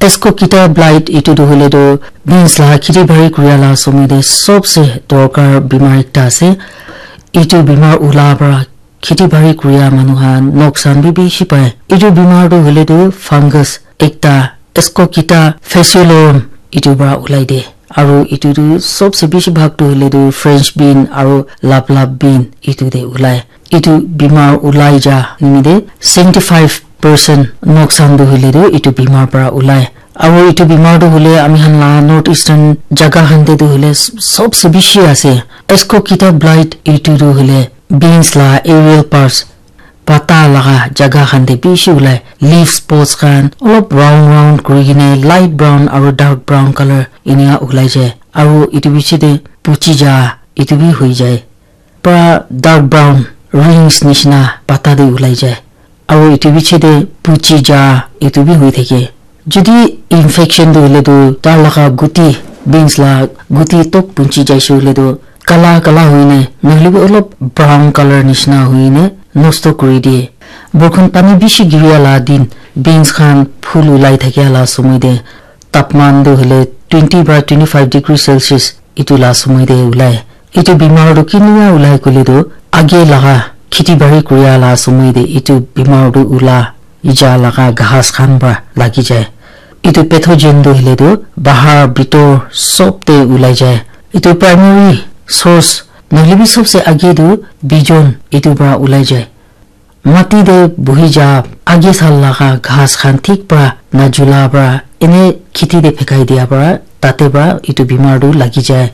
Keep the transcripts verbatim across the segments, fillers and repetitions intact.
Ascochyta blight itu tu hoile tu beans la kheti bari kuria la somoy te sobse dorkar bimar ekta ase. Itu bimar ula para kheti bari kuria manu khan noksan bi bishi pai. Itu bimar tu hoile tu fungus ekta Ascochyta fasciolorum itu para ulai de. Aru itu tu sobse bishi bhag tu hoile tu French bean aru laplap bean itu te ulai. Itu bimar ulai ja nimite seventy five percent noksan tu hoile tu itu bimar para ulai. Aru itu bimar tu hoile ami khan la North Eastern jaga khan te tu hoile s- sobse bishi ase. Ascochyta blight itu tu hoile beans la aerial parts pata laga jaga khan te bishi ulai. Leaf spots khan olop round round kuri kene light brown aru dark brown color enia ulai jai. Aru itu bishi te puchi ja itu bi hoi jai. Pura dark brown rings nishina pata te ulai jai. Aru itu bishi te puchi ja itu bi hoi thake. Jodi infection tu hoile tu tar laga guti, beans la guti tok punchi jaise hoile tu kala kala hoine nohole bi olop brown color nishina hoine nosto kuri diye. Borkhon pani bishi giria la din beans khan phul ulai thakia la somoy te tapman tu hoile twenty para twenty five degree Celsius itu la somoy te ulai. Itu bimar tu kinika ulai koile tu age laga kheti bari kuria la somoy te itu bimar tu ula ija laga ghas khan para lagi jai. Itu pathogen tu hoile tu bahar bitor sob te ulai jai. Itu primary source nohole bi sobse age tu bijon itu para ulai jai. Mati te buhi ja age sal laga ghas khan thik para najula para ene kheti te phekai dia para tate para itu bimar tu lagi jai.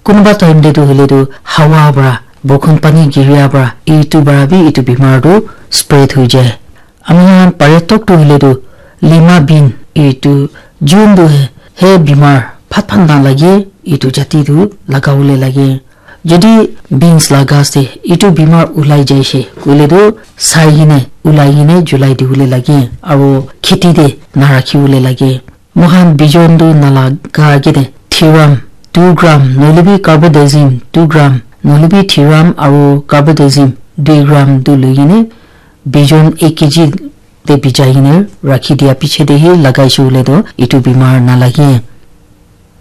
Kunuba time te tu hoile tu hawa para borkhon pani giria para itu para bi itu bimar tu spread hoi jai. Ami khan pare tok tu hoile tu lima bean itu jun tu he, he bimar phat phat na lage itu jati tu lagawole lage. Jodi beans la ghas te itu bimar ulai jaise koile tu sai hine ulai hine julai diwole lage aru kheti te narakhiwole lage. Moikhan bijon tu nalaga age te thiram two gram nohole bi carbendazim two gram nohole bi thiram aru carbendazim dui gram tu loi kene bijon ek kg te bijai kene rakhi dia piche te hi lagaise hoile tu itu bimar nalage.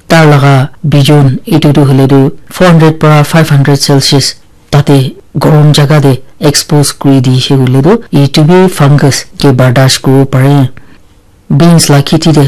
Tar laga bijon itu tu hoile tu four hundred para five hundred Celsius tate gorom jaga te expose kuri dise hoile tu itu bi fungus ke bardash kuribo pare. Beans la kheti te